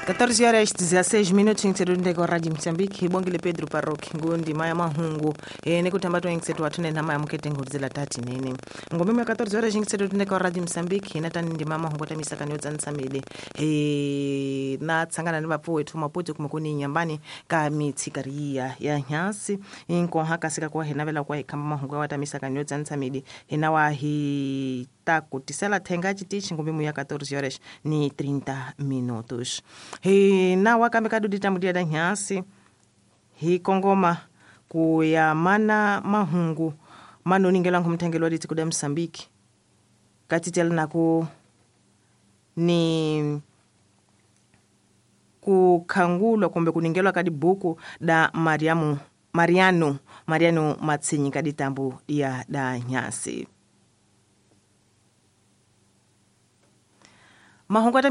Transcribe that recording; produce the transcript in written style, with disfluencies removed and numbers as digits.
14 horas 16 minutos ngisetu kwa Radio Mozambique ibongile Pedro Parok ngundi maya mahungu ene kutamba to ngisetu atune nama ya mukete ngudzela tati nene ngombe ya 14 horas ngisetu kwa Radio Mozambique inatani ndima mahungu tamisaka nyotsansamile na tsangana ni vapfuwethu maputi kumbe kuni nyambani ka mitshikariya ya nyasi inkoha kasika kwa hina vela kwa hikhamba mahungu ya tamisaka nyotsansamile hina wa hi ta kutisela thenga chitichi ngombe ya 14 horas ni 30 minutos hina wakambe kadudi da nyasi hi kongoma ku ya mana mahungu manoningela nkhumthengelo wa ditiko da Mozambique katitela naku ni kukhangulwa kumbe kuningelwa ka dibuku da Mariano Matsinyi ka ditambu ya da nyasi mahungu ata